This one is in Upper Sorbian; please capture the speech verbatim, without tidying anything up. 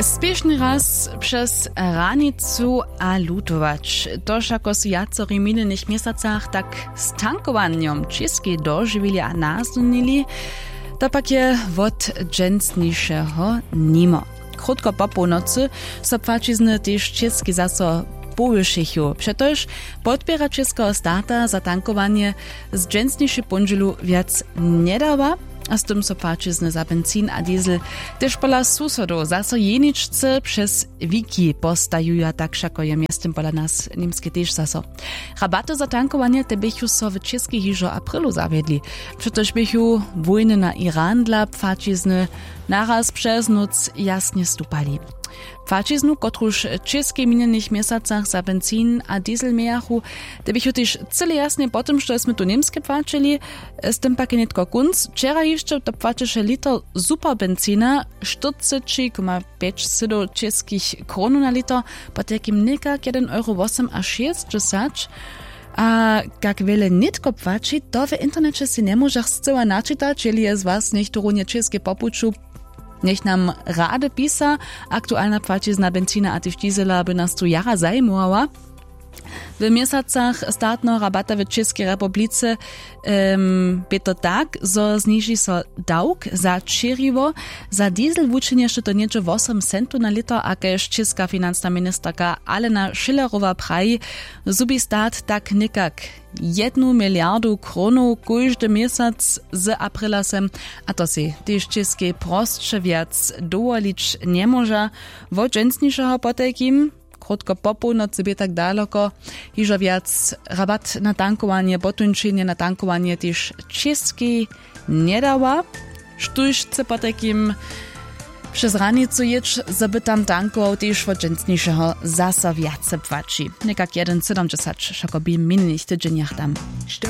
Spěšny raz přez hranicu a lutować, to wšako su wjacori w minjenych měsacach tak z tankowanjom w Čěskej dožiwili a naznunili. To pak je wot dźensnišeho nimo. Krótko po połnocy so płaćizny tež w Čěskej zaso powyšechu, přetož podpěra čěskeho stata za tankowanje z dźensnišej póndźelu wjac njedawa. A z tym so płaćizny za benzin a diesel tež pola susodow zaso jeničce přez wiki postajuja, tak wšako je mjeztym pola nas w Němskej tež zaso. Rabaty za tankowanje te běchu so w Čěskej hižo w aprilu zawjedli, přetož běchu wójny na Iran dla płaćizny naraz přez nóc jasnje stupali. Płaćiznu, kotruž w Čěskej w minjenych měsacach za benzin a diesel mějachu, te běchu tež cyle jasnje po tym, što smy tu w Němskej płaćili. Z tym pak je nětko kónc. Wčera hišće to płaćeše liter superbenzina štyrceći koma pjeć sydow čěskich kronow na liter, potajkim někak jedyn euro wosomašěsćdźesać. A kak wjele nětko płaći, to w interneće sej njemóžach scyła načitać. Jeli je z was něchto runje w Čěskej po puću, njech nam rady pisa. Aktualna płaćizna benzina a tež diesela by nas tu jara zajimowała. W měsacach statneho rabata w Čěskej republice bě to tak, zo zniži so dawk za ćěriwo. Za diesel wučinješe to něhdźe wosom centow na lěto, a kaž čěska financna ministerka Alena Schillerowa praji, zhubi stat tak někak jednu miliardu kronow kóždy měsac z aprila sem. A to sej tež w Čěskej prosće wjac dowolić njemóža. Wot dźensnišeho potajkim, krótko po połnocy bě tak daloko hižo wjac rabat na tankowanje, potuńčenje na tankowanje tež w Čěskej njedawa. Štóž chce potajkim přez hranicu jěć, zo by tam tankował, tež wot dźensnišeho zaso wjace płaći, někak jedyn sydomdźesać wšako bě w minjenych tydźenjach tam. Što